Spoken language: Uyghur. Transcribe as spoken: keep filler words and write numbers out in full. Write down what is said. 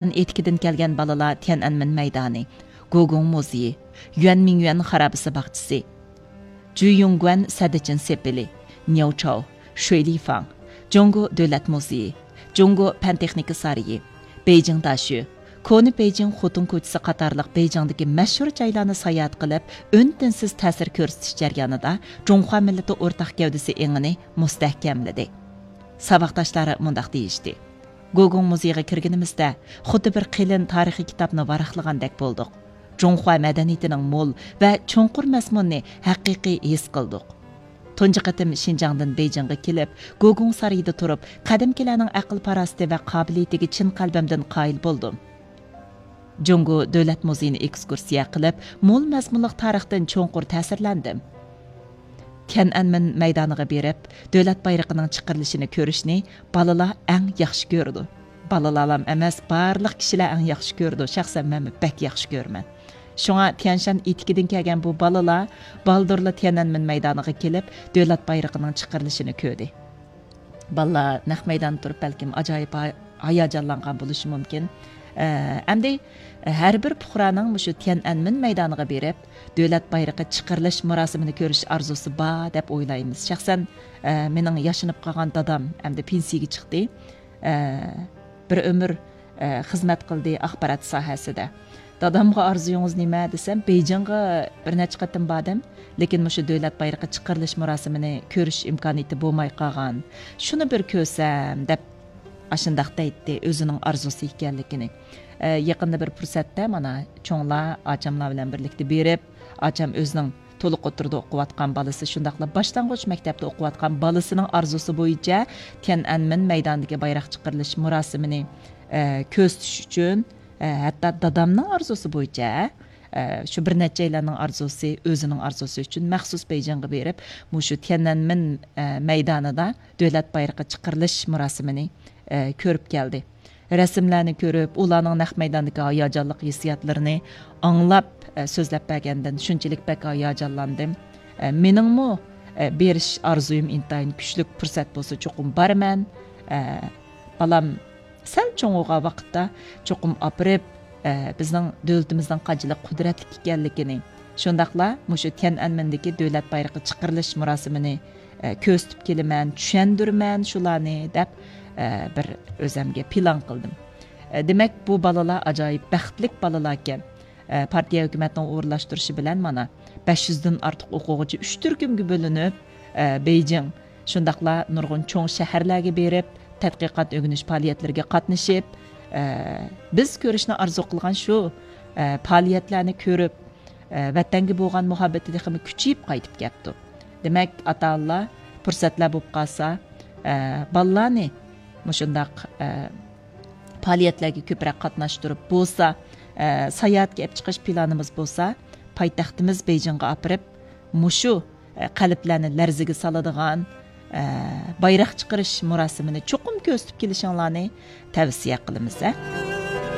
ئېتىكىدىن كەلگەن بالىلار تيەنئەنمېن مەيدانى، گوگۇڭ مۇزېيى، يۈەنمىڭيۈەن خارابىسى باغچىسى، جۈيۈڭگۈەن سەددىچىن سېپىلى، نياۋچاۋ، شۇيلىفاڭ، جۇڭگو دۆلەت مۇزېيى، جۇڭگو پەن تېخنىكا سارىيى، بېيجىڭ داشۆ، كونا بېيجىڭ خوتۇن كوچىسى قاتارلىق بېيجىڭدىكى مەشھۇر جايلارنى ساياھەت قىلىپ، ئۈن-تىنسىز تەسىر كۆرسىتىش جەريانىدا جۇڭخۇا مىللىتى ئورتاق گەۋدىسى ئېڭىنى مۇستەھكەملىدى. ساۋاقداشلار مۇنداق دېيىشتى: گوگۇڭ مۇزېيغا كىرگىنىمىزدە، خۇددى بىر قېلىن تارىخىي كىتابنى ۋاراقلىغاندەك بولدۇق. جۇڭخۇا مەدەنىيىتىنىڭ مول ۋە چوڭقۇر مەزمۇنىنى ھەقىقىي ھېس قىلدۇق. تۇنجى قېتىم شىنجاڭدىن بېيجىڭغا كېلىپ، گوگۇڭ سارىيىدا تۇرۇپ، قەدىمكىلەرنىڭ ئەقىل-پاراسىتى ۋە قابىلىيىتىگە چىن قەلبىمدىن قايىل بولدۇم. جۇڭگو دۆلەت مۇزېيىنى ئېكسكۇرسىيە قىلىپ، مول مەزمۇنلۇق تارىختىن چوڭقۇر تەسىرلەندىم. تيەنئەنمېن مەيدانىغا بېرىپ، دۆلەت بايرىقىنىڭ چىقىرىلىشىنى كۆرۈشنى بالىلار ئەڭ ياخشى كۆرىدۇ. بالىلارلام ئەمەس، بارلىق كىشىلەر ئەڭ ياخشى كۆرىدۇ. شەخسەن مەنمۇ بەك ياخشى كۆرىمەن. شۇڭا تيەنشان ئېتىكىدىن كەلگەن بۇ بالىلار بالدۇرلا تيەنئەنمېن مەيدانىغا كېلىپ، دۆلەت بايرىقىنىڭ چىقىرىلىشىنى كۆردى. بالىلار نەق مەيداندا تۇرۇپ بەلكىم ئاجايىپ ھا-، ھاياجانلانغان بولۇشى مۇمكىن. ئە، ئەمدى ھەر بىر پۇقرانىڭ مۇشۇ تيەنئەنمېن مەيدانىغا بېرىپ، دۆلەت بايرىقى چىقىرىلىش مۇراسىمىنى كۆرۈش ئارزۇسى بار دەپ ئويلايمىز. شەخسەن، ئە، مېنىڭ ياشىنىپ قالغان دادام ئەمدى پېنسىيىگە چىقتى. ئە، بىر ئۆمۈر، ئە، خىزمەت قىلدى ئاخبارات ساھەسىدە. دادامغا ئارزۇيىڭىز نېمە دېسەم، بېيجىڭغا بىر نەچچە قېتىم باردىم، لېكىن مۇشۇ دۆلەت بايرىقى چىقىرىلىش مۇراسىمىنى كۆرۈش ئىمكانىيىتى بولماي قالغان. شۇنى بىر كۆرسەم دەپ ئاشۇنداق دەيتتى، ئۆزىنىڭ ئارزۇسى ئىكەنلىكىنى. ئە، يېقىندا بىر پۇرسەتتە مانا چوڭلار، ئاچاملار بىلەن بىرلىكتە بېرىپ، ئاچام ئۆزىنىڭ تولۇق ئوتتۇرىدا ئوقۇۋاتقان بالىسى، شۇنداقلا باشلانغۇچ مەكتەپتە ئوقۇۋاتقان بالىسىنىڭ ئارزۇسى بويىچە تيەنئەنمېن مەيدانىدىكى بايراق چىقىرىلىش مۇراسىمىنى، ئە، كۆزىتىش ئۈچۈن، ئە، ھەتتا دادامنىڭ ئارزۇسى بويىچە، ئە، شۇ بىر نەچچەيلەننىڭ ئارزۇسى، ئۆزىنىڭ ئارزۇسى ئۈچۈن مەخسۇس بېيجىڭغا بېرىپ، مۇشۇ تيەنئەنمېن، ئە، مەيدانىدا دۆلەت بايرىقى چىقىرىلىش مۇراسىمىنى، ئە، كۆرۈپ كەلدى. رەسىملەرنى كۆرۈپ، ئۇلارنىڭ نەق مەيداندىكى ھاياجانلىق ھېسسىياتلىرىنى ئاڭلاپ، ئە، سۆزلەپ بەرگەندىن شۇنچىلىك بەك ھاياجانلاندىم. ئە، مېنىڭمۇ، ئە، بېرىش ئارزۇيۇم ئىنتايىن كۈچلۈك، پۇرسەت بولسا چوقۇم بارىمەن. ئە، بالام سەل چوڭىغان ۋاقىتتا چوقۇم ئاپىرىپ، ئە، بىزنىڭ دۆلىتىمىزنىڭ قانچىلىك قۇدرەتلىك ئىكەنلىكىنى، شۇنداقلا مۇشۇ تيەنئەنمېندىكى دۆلەت بايرىقى چىقىرىلىش مۇراسىمىنى، ئە، كۆرسىتىپ كېلىمەن، چۈشەندۈرىمەن شۇلارنى دەپ، ئە، بىر ئۆزەمگە پىلان قىلدىم. ئە، دېمەك، بۇ بالىلار ئاجايىپ بەختلىك بالىلاركەن. ئە، پارتىيە ھۆكۈمەتنىڭ ئورۇنلاشتۇرۇشى بىلەن مانا بەش يۈزدىن ئارتۇق ئوقۇغۇچى ئۈچ تۈركۈمگە بۆلۈنۈپ، ئە، بېيجىڭ، شۇنداقلا نۇرغۇن چوڭ شەھەرلەرگە بېرىپ، تەتقىقات ئۆگىنىش پائالىيەتلىرىگە قاتنىشىپ، ئە، بىز كۆرۈشنى ئارزۇ قىلغان شۇ، ئە، پائالىيەتلەرنى كۆرۈپ، ئە، ۋەتەنگە بولغان مۇھەببىتى تېخىمۇ كۈچىيىپ قايتىپ كەپتۇ. دېمەك، ئاتا-ئانىلار پۇرسەتلەر بولۇپ قالسا، ئە، بالىلارنى مۇشۇنداق، ئە، پائالىيەتلەرگە كۆپرەك قاتناشتۇرۇپ بولسا، ئە، ساياھەتكە ئېلىپ چىقىش پىلانىمىز بولسا، پايتەختىمىز بېيجىڭغا ئاپىرىپ، مۇشۇ، ئە، قەلبلەرنى لەرزىگە سالىدىغان، ئە، بايراق چىقىرىش مۇراسىمىنى چوقۇم كۆزىتىپ كېلىشىڭلارنى تەۋسىيە قىلىمىز، ھە.